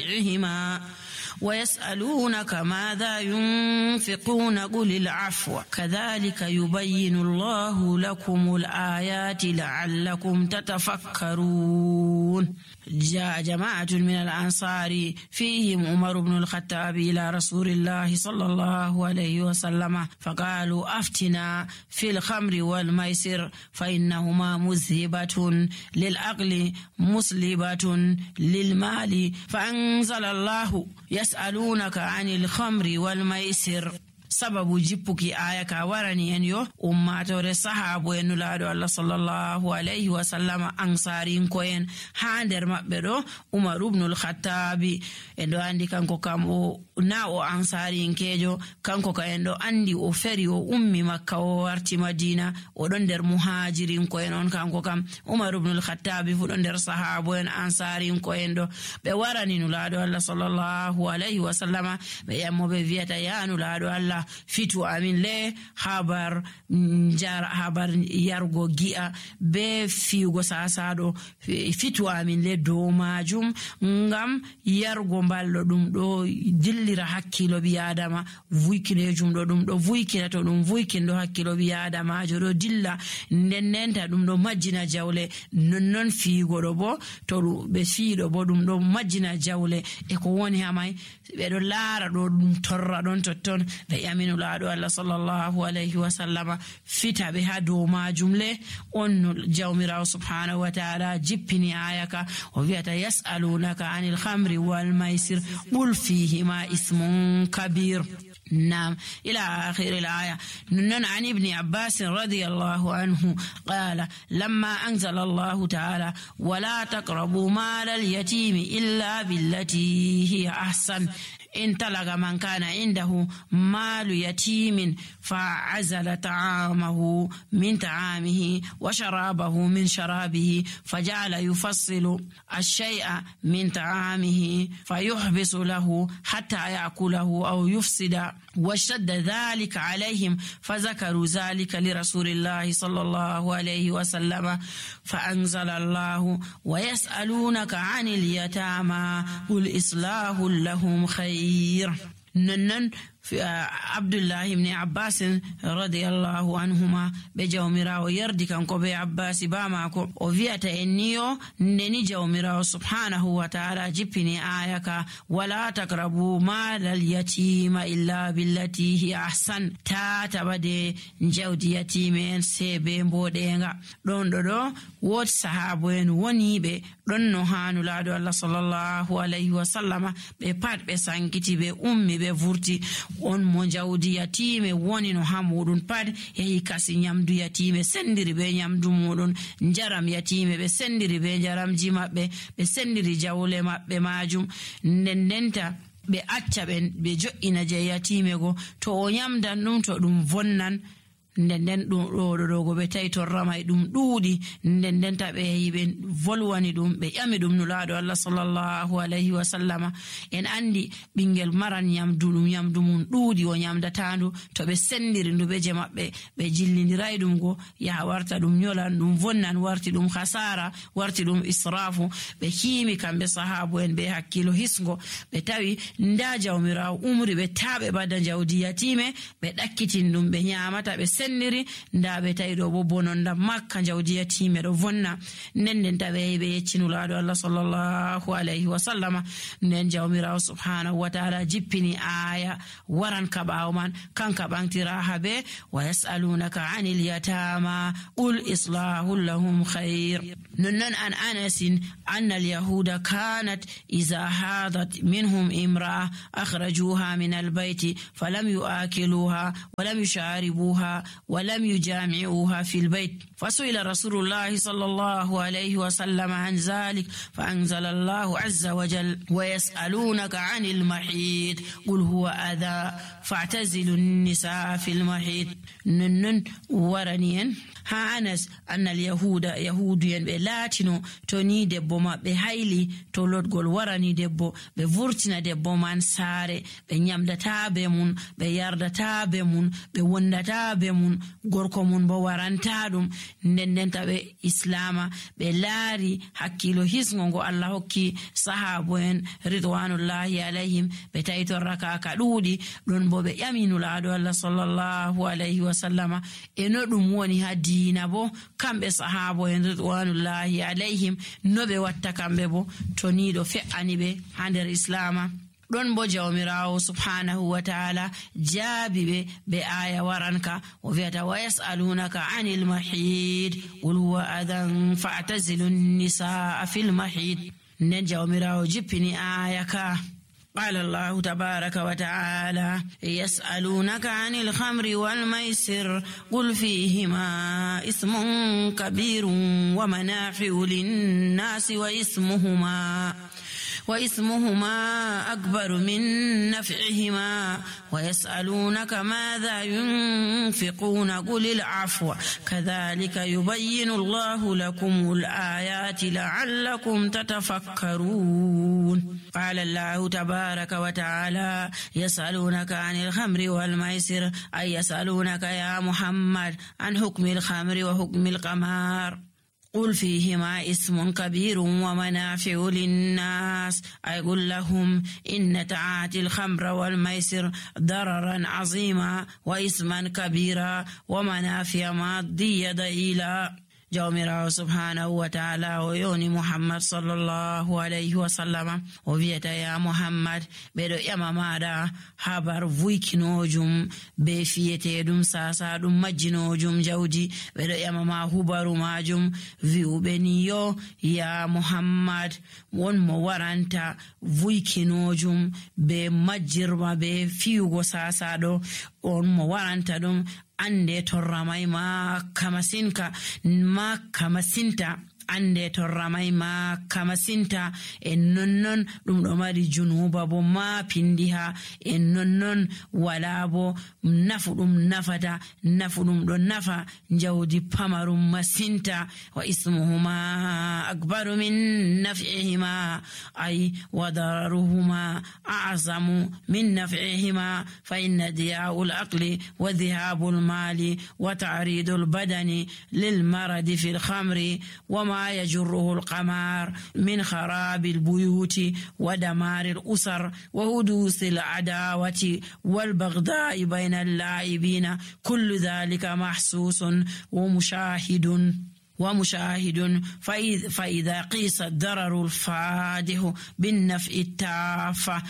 بيعهما ويسألونك ماذا ينفقون قل العفو كذلك يبين الله لكم الآيات لعلكم تتفكرون. جاء جماعة من الأنصار فيهم عمر بن الخطاب إلى رسول الله صلى الله عليه وسلم فقالوا أفتنا في الخمر والميسر فإنهما مذهبة للعقل مسلبة للمال. فأنزل الله يسألونك عن الخمر والميسر. sababu jippuki aya ka warani en yo ummatore sahabo en nulaado Allah sallallahu alayhi wa sallam ansarin ko en ha nder mabbe do Umar ibn al-Khattab en do andi kanko kam o na o ansarin kejo kanko ka en do andi o feri o ummi Makka o warti Madina o don der muhajirin ko en on kanko kam Umar ibn al-Khattab fu don der sahabo en ansarin ko en do be warani nulaado Allah sallallahu alayhi wa sallam be yammo be viata ya nulaado Allah fitu amin le habar yargo gi'a be fiugo sasado fitu amin le do majum ngam yargo ballo dum do dillira hakkilo bi adama vuikinejum do dum do vuikina to dum vuikindo hakkilo bi adama do dilla nennenta dum do majjina jawle non fiigo do bo to be fiido bo dum do majjina jawle e ko woni hamay be do laara do dum torra don totton be aminu laado Allah sallallahu alayhi wa sallama fita be ha do majum le on jawmira subhanahu wa ta'ala jippini ayaka o viata yasalunaka anil khamri wal maisir qul fihima ismun kabir. نعم إلى آخر الآية. نن عن ابن عباس رضي الله عنه قال لما أنزل الله تعالى ولا تقربوا مال اليتيم إلا بالتي هي أحسن إن تلغ من كان عنده مال يتيم فعزل طعامه من طعامه وشرابه من شرابه فجعل يفصل الشيء من طعامه فيحبس له حتى يأكله أو يفسد واشتد ذلك عليهم فذكروا ذلك لرسول الله صلى الله عليه وسلم فأنزل الله ويسألونك عن اليتامى قل إصلاح لهم خير. ننن عبد الله بن عباس رضي الله عنهما بجومرا ويردي كانكو بي عباس باماكو وفيتا انيو نني جومرا سبحانه وتعالى جبني آيكا ولا تقربوا مال اليتيم إلا بالتي هي أحسن تاتبدي جودي يتيمين سيبين بودينغا دون دو وود صحابين ونيبه دون نوحانو لادو الله صلى الله عليه وسلم بپات بسانكتي بأمي بفورتي on mo jawdi yatime woni no hamudun pad yehi kasi nyamdu yatime sendiri be nyamdu mudun njaram yatime be sendiri be njaramji mabbe be sendiri jawle mabbe majum ndendenta be acca be jo'ina je yatime go to o nyamdan dum to dum vonnan ndenden do go be tayto ramay dum duudi ndenden tabe yibe volwani dum be yami dum nulaado Allah sallallahu alayhi wa sallama en andi bingel maran nyamdu mun duudi o nyamda tandu to be sendiri ndube je mabbe be jillindiray dum go ya warta dum nyolan dum vonnan warti dum khasara warti dum israfu be himi kambe sahabu en be hakkilo hisgo be tawi nda jawmira umri be tabe badda jawdi yatime be dakkitin dum be nyamata be sendiri nda be taydo bo bononda makka jawdi yatime do vonna nenden tawe be yeccinulaado Allah sallallahu alayhi wa sallama nen jawmira subhanahu wa ta'ala jippini aya waran kabaw man kanka bantira habe wa yasalunaka anil yatama ul islahu lahum khair. نن عن أنس أن اليهود كانت إذا حاضت منهم امرأة أخرجوها من البيت فلم يؤكلوها ولم يشاربوها ولم يجامعوها في البيت فسئل رسول الله صلى الله عليه وسلم عن ذلك فأنزل الله عز وجل ويسألونك عن المحيط قل هو أذى فاعتزلوا النساء في المحيط. نن ورنين ها أنس أن اليهود يهودين بلاتينو توني دبو ما بهايلي تولود غول وراني دبو بفورتنا دبو من ساري بنيامدتا بمون بياردتا بمون بوندتا بمون mun gorko mun bo waranta ɗum nden taɓe islama ɓe laari hakkilo hisgo ngo Allah hokki sahabo en ridwanullahi alayhim ɓe tawi torra ka ɗuuɗi ɗon bo ɓe ƴaminulaaɗo Allah sallallahu alayhi wa sallama e no ɗum woni ha diina bo kamɓe sahabo en ridwanullahi alayhim no ɓe watta kamɓe bo to ni ɗo fe'ani ɓe ha nder islama. ɗon bo jawmirawo subhanahu wa ta'ala jaabi ɓe aya waranka o wi'ata wa yas'alunaka anil mahid qul huwa adan fa'tazilu nisaa fil mahid. nden jawmirawo jippini aya ka قال الله تبارك وتعالى يسألونك عن الخمر والميسر قل فيهما إثم كبير ومنافع للناس وإثمهما أكبر من نفعهما ويسألونك ماذا ينفقون قل العفو كذلك يبين الله لكم الآيات لعلكم تتفكرون. قال الله تبارك وتعالى يسألونك عن الخمر والميسر أي يسألونك يا محمد عن حكم الخمر وحكم القمار قل فيهما اسم كبير ومنافع للناس أي قل لهم إن تعاطي الخمر والميسر ضررا عظيما وإثما كبيرا ومنافع مادية ضئيلا. jawmirawo subhanahu wa ta'ala o yoni muhammad sallallahu alayhi wa sallama o wiyata ya muhammad ɓeɗo ƴama maɗa habar vuykinojum be fiyeteɗum sasa ɗum majjinojum jawdi ɓeɗo ƴama ma hubaru majum wi'uɓe ni yo ya muhammad won mo waranta vuykinojum be majjirma be fiyugo sasa ɗo on mo waranta ɗum ande torramai makka masinta ande torramai makka masinta en nonnon ɗum ɗo mari junuba bo ma pindiha en nonnon wala bo nafu ɗum nafata nafu ɗum ɗo nafa jawdi pamarum masinta wa ismuhuma akbaru min naf'ihima ay wa dararuhuma a'zamu min naf'ihima fa inna diya'ul aqli wa dhihabul mali wa ta'ridul badani lil maradi fil khamri wa ma يجره القمار من خراب البيوت ودمار الأسر وحدوث العداوة والبغضاء بين اللاعبين كل ذلك محسوس ومشاهد فإذا قيس الضرر الفادح بالنفع التافه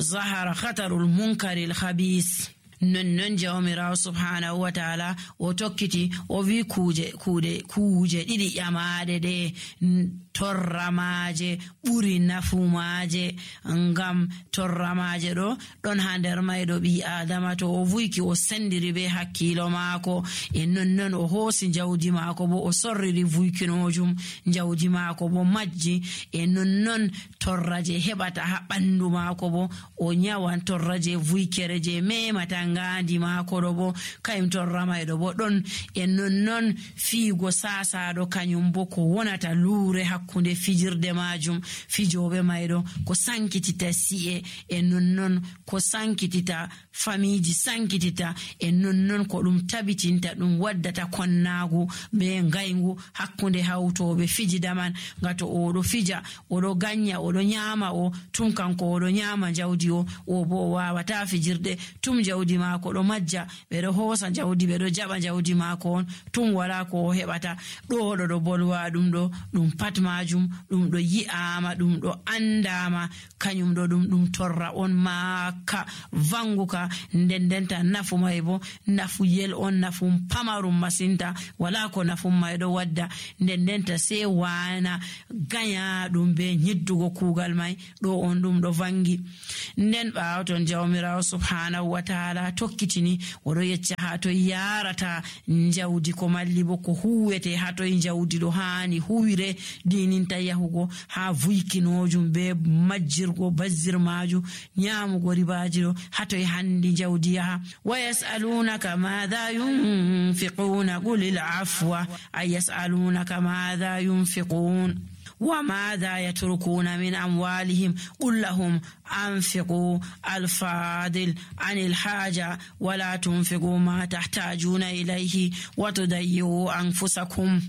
ظهر خطر المنكر الخبيث. non jawmirawo subhanahu wa ta'ala o tokkiti o wi kuje ɗiɗi ƴamaɗe ɗe torramaje ɓuri nafumaje ngam torramaje ɗo ɗon ha nder mayɗo ɓi adama to o vuyki o sendiri be hakkilo maako e nonnon o hoosi jawdi maako bo o sorriri vuykinojum jawdi maako bo majji e nonnon torra je heɓata ha ɓandu maako bo o nyawan torra je vuykere je memata ngandi maako ɗo bo kayum torra mayɗo bo ɗon e nonnon fiigo sasaɗo kañum bo ko wonata luure hakkunde fijirde majum fijoɓe mayɗo ko sankitita si'e e nonnon ko sankitita famiji sankitita e nonnon ko ɗum tabitinta ɗum waddata konnagu be ngaygu hakkunde hawtoɓe fijida man gato oɗo fija oɗo ganya oɗo nyama o tum kanko oɗo nyama jawdi o bo o wawata fijirde tum jawdi maako ɗo majja ɓeɗo hoosa jawdi ɓeɗo jaɓa jawdi maako on tum wala ko o heɓata ɗo bolwa ɗum ɗo ɗum pat majum ɗum ɗo yi'ama ɗum ɗo andama kañum ɗo ɗum torra on makka vanguka ndendenta nafu may bo nafu yel on nafu pamarum masinta wala ko nafu may ɗo wadda ndendenta se wana ganya ɗum be nyiddugo kugal may ɗo on ɗum ɗo vangi. nden ɓawo ton jawmirawo subhanahu wa ta'ala tokkitini oɗo yecca ha to yarata jawdi ko malli bo ko huwete ha to jawdi ɗo hani huwire dininta yahugo ha vuykinojum be majjirgo bazzir maju nyamugo ribaji ɗo ha to handi jawdi yaha. wa yas'alunaka madha yunfiquna qulil afwa ay yas'alunaka madha yunfiqun وماذا يتركون من أموالهم قل لهم أنفقوا الفاضل عن الحاجة ولا تنفقوا ما تحتاجون إليه وتضيعوا أنفسكم.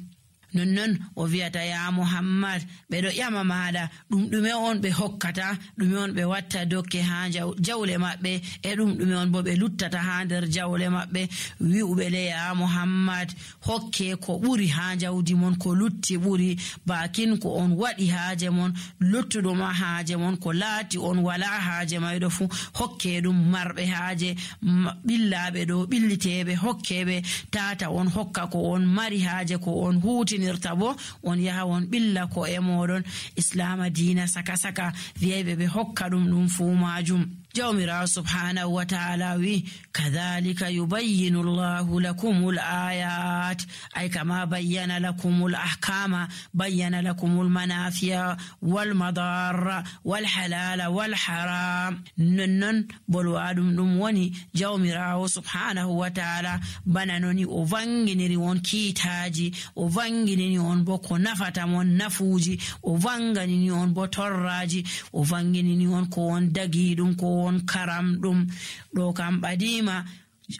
nonnon o wi'ata ya Muhammad ɓeɗo ƴama maɗa ɗume on ɓe hokkata, ɗume on ɓe watta dokke ha jawle maɓɓe, e ɗume on bo ɓe luttata ha nder jawle maɓɓe. wi'uɓe le ya Muhammad hokke ko ɓuri ha jawdi mon, ko lutti ɓuri, bakin ko on waɗi haaje mon, luttuɗuma haaje mon ko laati on wala haaje mayɗo fu hokke ɗum. marɓe haaje ɓillaɓe ɗo ɓilliteɓe hokkeɓe, tata on hokka ko on mari haaje, ko on huuti bo on yaha on billa ko e moɗon. Islama diina saka saka wi'ayɓe ɓe hokka ɗum fu majum. jawmirawo subhanahu wa ta'ala wi kadhalika yubayyinu llahu lakumul ayat, ay kama bayyana lakumul ahkama, bayyana lakumul manafi'a wal madarra wal halala wal haram. nonnon bolwaɗum ɗum woni jawmirawo subhanahu wa ta'ala bana noni o vanginiri won kiitaji, o vanginini on bo ko nafata mon nafuji, o vanganini on bo torraji, o vanginini on ko on dagi ɗum, ko on karam ɗum. ɗo kam ɓadima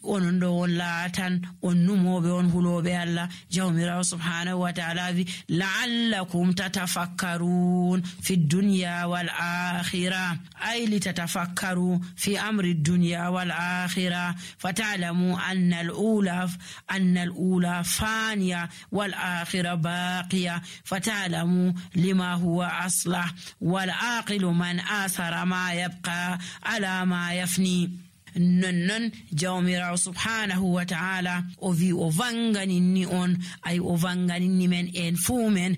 onon ɗo on laatan on numoɓe, on huloɓe Allah. jawmirawo subhanahu wa ta'ala wi la'allakum tatafakkarun fi dunya wal akhirah, ay li tatafakkaru fi amri dunya wal akhirah fata'lamu anna al-ula faniya wal akhirah baqiya fata'lamu lima huwa aslah wal aqilu man athara ma yabqa ala ma yafni. nonnon jawmirawo subhanahu wa ta'ala o wi o vanganinni on, ay o vanganinni men en fuu men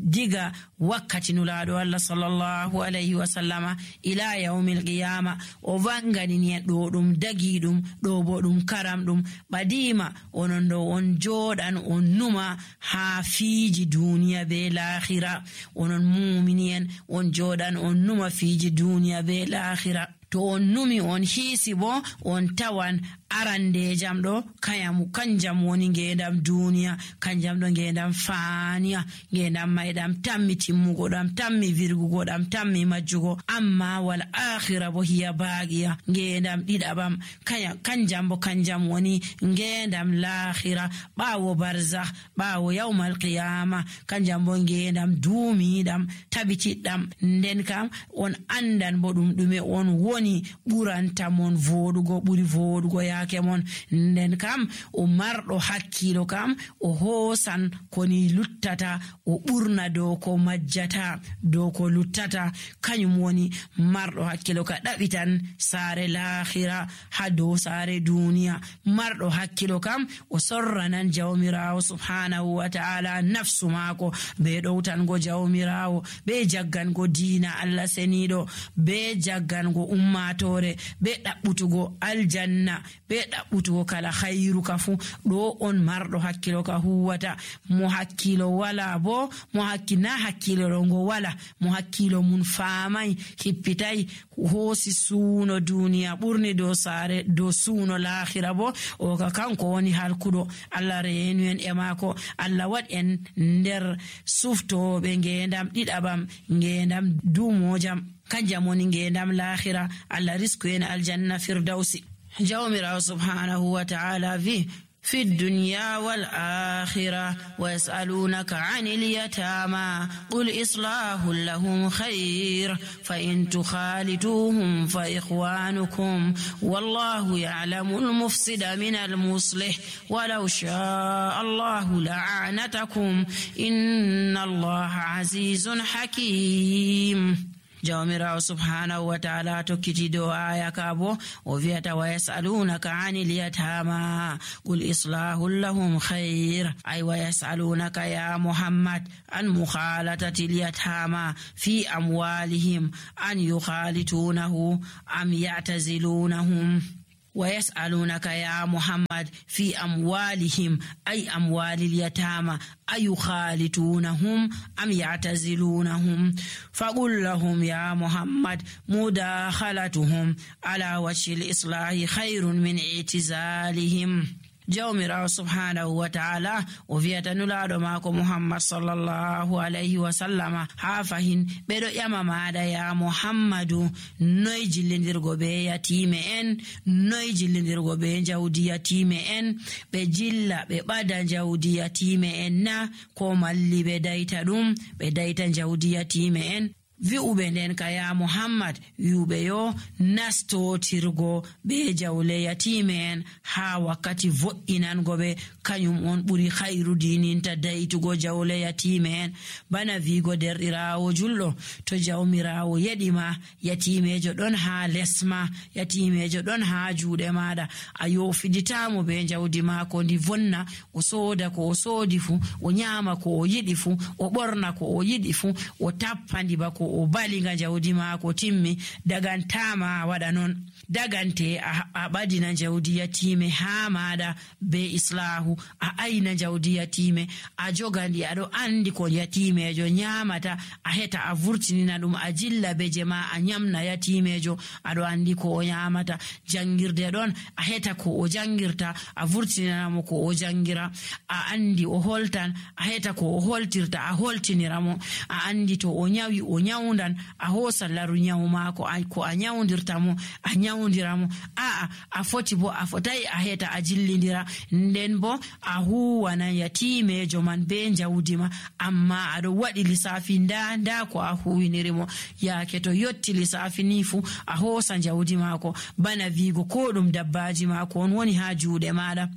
diga wakkati nulaɗo Allah sallallahu alayhi wa sallama ila yawmil qiyama. o vanganini en ɗo ɗum dagi ɗum, ɗo bo ɗum karam ɗum. ɓadima onon ɗo on joɗan on numa ha fiiji duniya be lahira, onon mumini en on joɗan on numa fiiji duniya be lahira. to on numi on hiisi bo on tawan arande jam ɗo kanjam woni ngendam duniya, kanjam ɗo ngendam faniya, ngendam mayɗam tammi timmugo, ɗam tammi virgugo, ɗam tammi majjugo. amma wal akhira bo hiya baqiya, ngendam ɗiɗaɓam kanjam woni ngendam lahira, ɓawo barzakh, ɓawo yawmal qiyama, kanjam bo ngendam duumiɗam tabitiɗɗam. nden kam on andan bo ɗume on woni ɓuranta mon voɗugo, ɓuri voɗugo yaake mon. nden kam o marɗo hakkilo kam o hoosan koni luttata, o ɓurna dow ko majjata, dow ko luttata. kañum woni marɗo hakkilo ka ɗaɓitan saare lahira ha dow saare duniya. marɗo hakkilo kam o sorranan jawmirawo subhanahu wa ta'ala nafsu maako be ɗowtango jawmirawo, be jaggango diina Allah seniɗo, be jaggango ummatore, be ɗaɓɓutugo aljanna, be ɗaɓɓutugo kala khairu ka fu. ɗo on marɗo hakkilo ka huwata. mo hakkilo wala bo, mo hakkina hakkilo rongo wala, mo hakkilo mun faamai hippitai hoosi suuno duniya ɓurni dow saare dow suuno lahira bo, o ka kanko woni halkuɗo. Allah reenu en e maako, Allah waɗ en nder suftoɓe ngendam ɗiɗaɓam, ngendam duumojam, kanjam woni ngendam lahira. Allah risku en aljanna firdausi. jawmirawo subhanahu wa ta'ala vi في الدنيا والآخرة ويسألونك عن اليتامى قل إصلاح لهم خير فإن تخالطوهم فإخوانكم والله يعلم المفسد من المصلح ولو شاء الله لأعنتكم إن الله عزيز حكيم. jawmirawo subhanahu wa ta'ala tokkiti do aya kabo o viata wa yasalunaka anil yatama qul islahu lahum khair, ay wa yasalunaka ya Muhammad an mukhalatati al yatama fi amwalihim an yukhalitunahu am ya'tazilunahum. ويسألونك يا محمد في أموالهم أي أموال اليتامى أيخالطونهم أم يعتزلونهم فقل لهم يا محمد مداخلتهم على وجه الإصلاح خير من اعتزالهم. jawmirawo subhanahu wa ta'ala o wi'ata nulaɗo maako Muhammad sallallahu alayhi wa sallama ha fahin ɓeɗo ƴama maɗa ya Muhammadu noy jillidirgo be yatime en, noy jillidirgo be jawdi yatime en, ɓe jilla ɓe ɓada jawdi yatime en na ko malli ɓe dayta ɗum ɓe dayta jawdi yatime en. Wi'uɓe nden ka ya Muhammad wi'uɓe yo nastotirgo be jawle yatime en ha wakkati vo'inango ɓe kañum on ɓuri khairu dininta daytugo jawle yatime en. Bana wigo derɗirawo julɗo to jawmirawo yeɗima yatimejo ɗon ha lesma, yatimejo ɗon ha juuɗe maɗa, a yofiditamo be jawdi mako ndi vonna, o soda ko o sodi fu, o nyama ko o yiɗi fu, o ɓorna ko o yiɗi fu, o tappandi bako o baliga jawdi maako timmi. Dagantama waɗa non, dagante a ɓadina jawdi yatime ha maɗa be islahu, a ayna jawdi yatime, a jogandi aɗo andi ko yatimejo nyamata, a heta a vurtinina ɗum, a jilla beje ma a nyamna yatimejo, aɗo andi ko o nyamata. Jangirde ɗon a heta ko o jangirta, a vurtininamo ko o jangira, a andi o holtan, a heta ko o holtirta, a holtiniramo, a andi to o nyawi o nyawndan, a hosa laru nyawu mako ko a nyawdirtamo a nyawdiramo, a foti bo a fotai a heta a jillidira, nden bo a huwana yatimejo man be jawdi ma, amma aɗo waɗi lissafi nda ko a huwinirimo. Yaake to yotti lissafi ni fu a hosa jawdi mako, bana wigo ko ɗum dabbaji mako on woni ha juuɗe maɗa.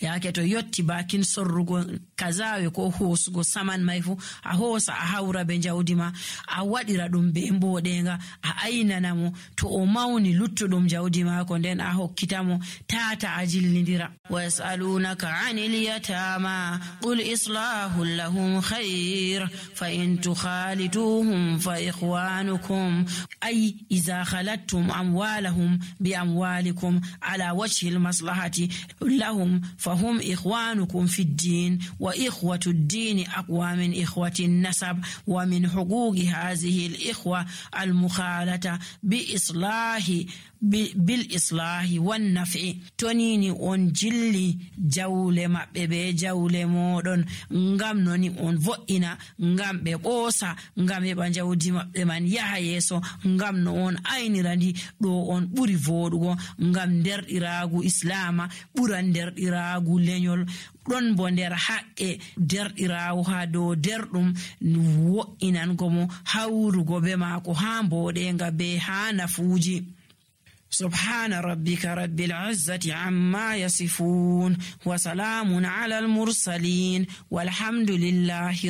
Yaake to yotti bakin sorrugo kazawe ko hosugo saman mai fu a hosa a hawra be jawdi ma, a waɗira ɗum be mboɗenga, a aynanamo, to o mawni luttuɗum jawdi mako nden a hokkitamo, tata a jillidira. Wa yas'alunaka 'anil yatama qul islahu lahum khair fa in tukhalituhum fa ikhwanukum ay idha khalattum amwalahum bi amwalikum ala wajhi al-maslahati lahum فهم إخوانكم في الدين وإخوة الدين أقوى من إخوة النسب ومن حقوق هذه الإخوة المخالطة بالإصلاح والنفع تونيني on jilli jawle maɓɓe be jawle moɗon ngam noni on vo'ina, ngam ɓe ɓoosa, ngam heɓa jawdi maɓɓe man yaha yeeso, ngam no on aynirandi ɗo on ɓuri voɗugo, ngam derɗiragu islama ɓuran derɗiragu lenyol. Ɗon bo nder haqqe derɗirawo ha dow derɗum wo'inango mo, hawrugo be maako ha mboɗenga be ha nafuuji. سبحان ربك رب العزة عما يصفون وسلام على المرسلين والحمد لله